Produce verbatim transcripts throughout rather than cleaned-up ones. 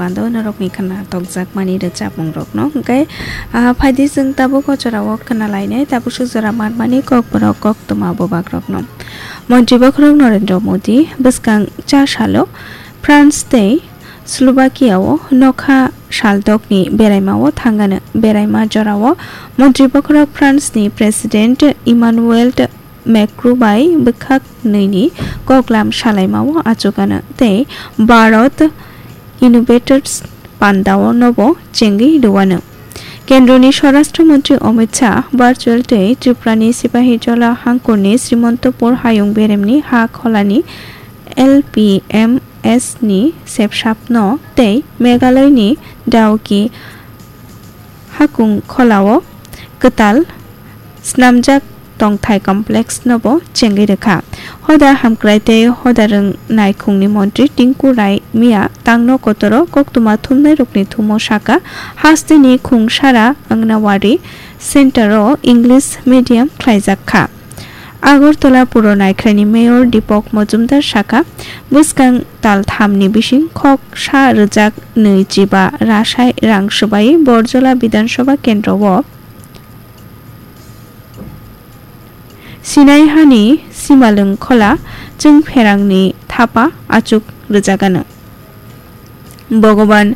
Pando norokni khna tokjakmani rwchapmungrokno hwnkhe, ah, phaidi chwng tabuk o jorao khna lainai tabuk swk jora manmani kokborok koktwma bubagrokno. Montri bokhorok Narendra Modi bwskang cha salo France tei Slovakia-o nokha saldokni beraimao thangano. Beraima jorao montri bokhorok France-ni President Emmanuel Macron bai bwkhak nwini koklam salaimao achukano tei Bharat Innovators pandao nobo chengwi rwano. Kendroni Swarashtra Montri Amit Shah virtual tei Tripurani Sipahijola hangkurni Srimantopur hayung beremni ha kholani L P M S ni sepsapno tei Meghalaya ni Dawki hakung kholao kwtal snamjak tongthai complex nobo chengwi rwkha. Hoda hamkrai tei hoda rwng naikhungni montri Tinku Rai miya tangno kotoro koktwma thumnairokni thumo saka, hasteni khungsara Anganwadi center o English medium khlaijak kha. Agartala Puro Naikhraini Mayor Deepak Majumdar sakha, bwskang tal thamni bising khok sa rwjak nwi chiba rasai rang swbai Borjola Bidhan Sabha kendro o Sinai hani Simalwng Khola Chwngpherangni thapa achuk rwjagano. Bhogoban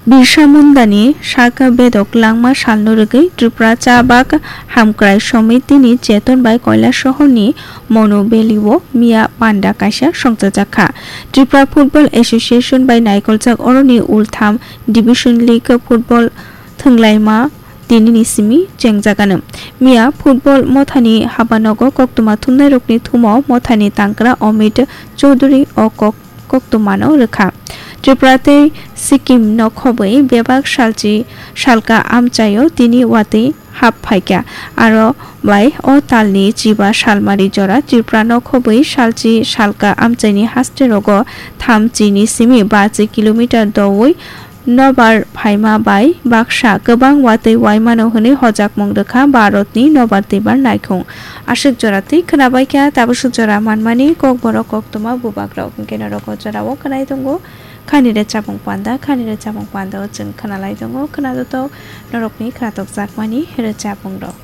Birsa Mundani saka bedok langma salno rwgwi Tripura Chabak Hamkrai Somitini cheton bai Kailasohorni Monu Valley o miya panda kaisa songchajak kha. Tripura Football Association bai naikoljak oroni ultham Division League football thwnglaima tinini simi chengjagano. Miya football mothani habanogo koktwma thumnairokni thumo mothani tangkra Amit Chowdhury o kok koktwmano rwkha. Tripura tei Sikkim no khobwi bebak salchi salka amchaio tini watwi hap phaikha. Aro bai o talni chiba salmari jora Tripura no khobwi salchi salka amchaini haste rogo thamchi ni simi bachi kilometer doui nobar phaima bai baksa kwbang watwi waimano hwnwi hojakmung rwkha Bharatni nobar twibar naikhung. Aswk jora twi khwnabaikha, tabuk swk jora manmani kokborok koktwma bubagrok. Hwnkhe norok o jorao khwnai tongo khani rwchapmung panda, khani rwchapmung panda o chwng khwnalai tongo khwnajotok norokni khwnatokjakmani rwchapmungrok.